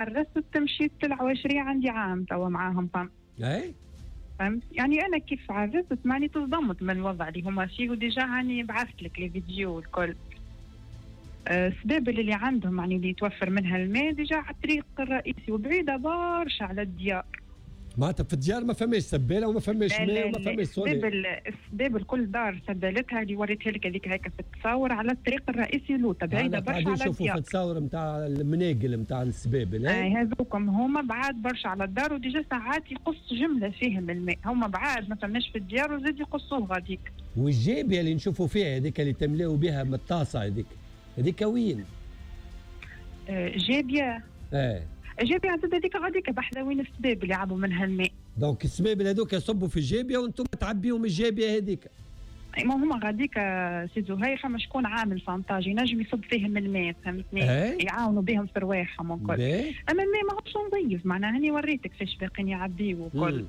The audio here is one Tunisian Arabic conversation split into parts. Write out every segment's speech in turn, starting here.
عرست مشيت العواشريه عندي عام توا معاهم فهم. اي فهمت؟ يعني انا كيف عرست معني تصدمت من الوضع اللي هما فيه، و déjà هاني بعثت لك les vidéos الكل. السبابل اللي عندهم يعني اللي يتوفر منها الماء déjà على الطريق الرئيسي وبعيدة برشا على الديار. معناتها في الديار ما فماش سباله وما فماش ماء وما فماش SONEDE. السبابل كل دار سبالتها اللي وريتها لك هذيك هكا في التصاور على الطريق الرئيسي لوطا، بعيدة برشا على الديار. نشوفوا في التصاور نتاع المناقل نتاع السبابل. هذوكم هما بعاد برشا على الدار، و déjà ساعات يقص جملة فيهم الماء، هما بعاد ما فماش في الديار وزاد يقصوه غاديك. والجابيه اللي نشوفوا فيها هذيك اللي تملاو بها من الطاسه هذيك، هذيك وين؟ جابيه. جابيه زاد هذيك غاديك بحذا وين السباب اللي عبوا منها الماء. donc السباب هذوك يصبوا في الجابية وانتم تعبيهم الجابية هذيك. ما هما غاديك سي زهير فما شكون عامل fontage ينجم يصب فيهم الماء، فهمتني؟ يعاونوا بهم في رواحهم وكل. اما الماء ماهوش نظيف، معناها هاني وريتك فاش باقيين يعبيو وكل.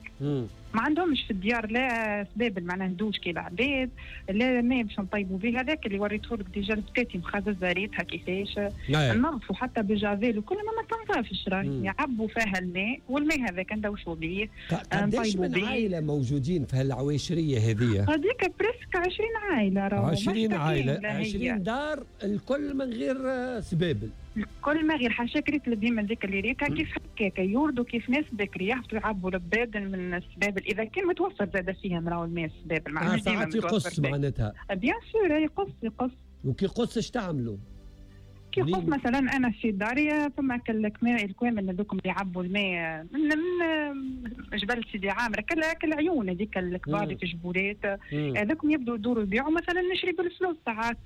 ما عندهمش في الديار لا سبابل معناها دوش كي العباد، لا ماء باش نطيبوا به، هذاك اللي وريته لك déjà البكاتي مخززه ريتها كيفاش نظفوا حتى بجافيل وكل ما تنظفش، راهي يعبوا فيها الماء والماء هذاك ندوشوا به. قداش من عائلة موجودين في هالعواشريه هذه؟ هذيك presque 20 عائلة راهو. 20 عائلة، 20 دار الكل من غير سبابل. الكل ما غير حاشاك ريت البهيمة هذيك اللي ريتها كيف هكاك يوردوا كيف ناس بكري يهبطوا يعبوا البادن من السبابل اذا كان متوفر زاد فيهم راهو الماء السبابل معناها ساعات يقص معناتها. bien sûr يقص يقص. وكي يقص اش تعملوا؟ كي يقص مثلا انا في داري فما الكوامن هذوك اللي يعبوا الماء من جبل سيدي عامر كالعيون هذيك الكبار اللي في جبولات هذوك يبدوا يدوروا يبيعوا، مثلا نشري بالفلوس ساعات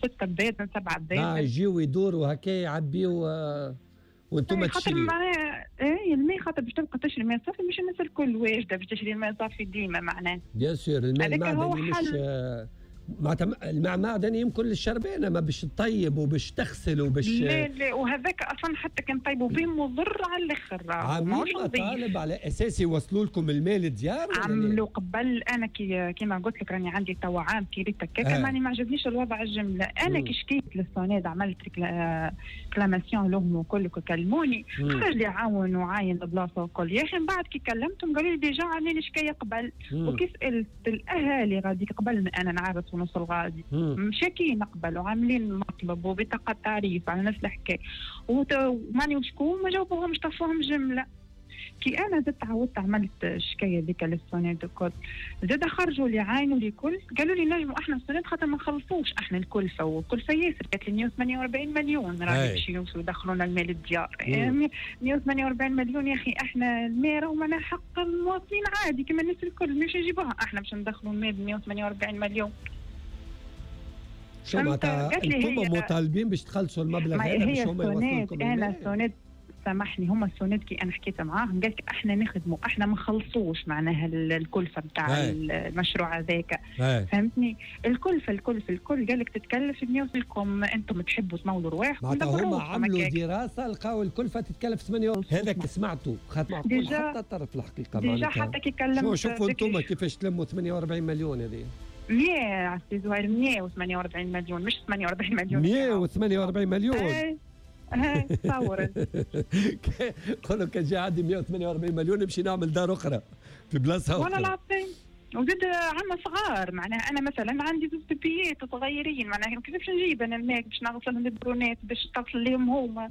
6 بادن 7 بادن. يجيو يدوروا هكا يعبيوا وانتم تشريوا. خاطر معناها الماء خاطر باش تبقى تشري ماء صافي مش الناس الكل واجدة باش تشري الماء صافي ديما معناها. bien sûr الماء المعدني مش معناتها الماء معدني يمكن للشربانه ما باش تطيب وباش تغسل وباش لا لا، وهذاك اصلا حتى كان طيبوا به مضر على الاخر. عاملين مطالب على اساس يوصلوا لكم الماء للديار؟ عملوا قبل، انا كيما قلت لك راني عندي توا عام كي ريت هكاك ماني ما عجبنيش الوضع الجملة. انا كي شكيت لل SONEDE عملت réclamation لهم وكل كلموني خرج لي عاون وعاين البلاصة وكل. يا اخي من بعد كي كلمتهم قالوا لي déjà عاملين شكاية قبل، وكي سالت الاهالي غاديك قبل ما انا نعرف ونوصل غادي مشاكين قبل وعاملين مطلب وبطاقة تعريف على نفس الحكاية وماني وشكون ما جاوبوهمش طفوهم جملة. كي انا زدت عاودت عملت الشكاية ذيك لل SONEDE الكل زاد خرجوا لي عاينوا لي كل قالوا لي نجموا احنا ال SONEDE خاطر ما نخلصوش احنا الكلفة، والكلفه ياسر كانت 148 مليون راهي باش يوصلوا يدخلونا المال الديار. 148 مليون يا اخي احنا الماء راهو معناها حق المواطنين عادي كما الناس الكل مش نجيبوها احنا باش ندخلوا الماء ب 148 مليون. شو معناتها انتم مطالبين باش تخلصوا المبلغ هذا باش هما يوصلوا لكم الماء؟ انا SONEDE سامحني هما ال SONEDE كي انا حكيت معاهم قالت احنا نخدموا احنا ما نخلصوش معناها الكلفة نتاع المشروع هذاك. فهمتني؟ الكلفة الكلفة الكل قال لك تتكلف 100 لكم انتم تحبوا تمولوا رواحكم. معناتها هما عملوا دراسة لقاو الكلفة تتكلف 8. هذاك سمعته خاطر معقول حتى طرف الحقيقة معناتها حتى كي كلمت شوفوا انتم كيفاش تلموا 48 مليون هذه 100 سي زهير 148 مليون مش 48 مليون 148 مليون. هاي تصور قولوا كان جا عندي 148 مليون نمشي نعمل دار اخرى في بلاصة اخرى. والله العظيم وزاد عندنا صغار معناها انا مثلا عندي زوج بيبيات صغيرين معناها كيفاش نجيب انا الماء باش نغسلهم البرونات باش تصل لهم هما.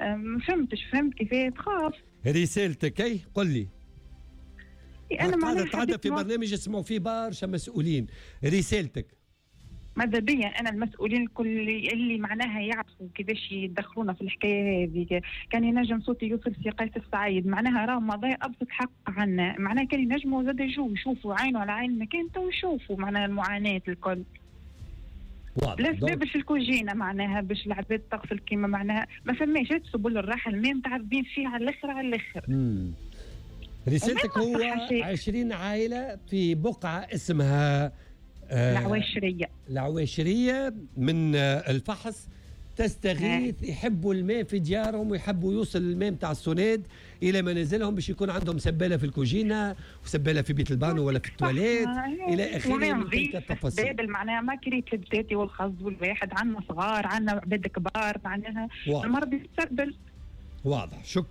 ما فهمتش فهمت كيفاه تخاف. رسالتك اي قل لي. انا معناها تعدى في برنامج يسمعوا فيه برشا مسؤولين، رسالتك؟ ماذا بيا انا المسؤولين الكل اللي معناها يعرفوا كيفاش يدخلونا في الحكاية هذه، كان ينجم صوتي يوصل في قيس السعيد معناها راه مضي ابسط حق عنا، معناها كان ينجموا زاد يجوا يشوفوا عين على عين المكان تو يشوفوا معناها المعاناة الكل. لا سبب في الكوجينه معناها باش العباد تغسل كيما معناها ما فماش سبل الراحة الماء متعذبين فيه على الاخر على الاخر. رسالتك هو 20 عائلة في بقعة اسمها العواشريه. العواشريه من الفحص تستغيث، يحبوا الماء في ديارهم ويحبوا يوصل الماء نتاع السوناد الى منازلهم باش يكون عندهم سباله في الكوجينه وسباله في بيت البانو ولا في التواليت الى اخره من تلك التفاصيل. معناها ما كريت البتاتي والخز والواحد، عندنا صغار عندنا عباد كبار معناها المرض يتسبل. واضح، شكرا.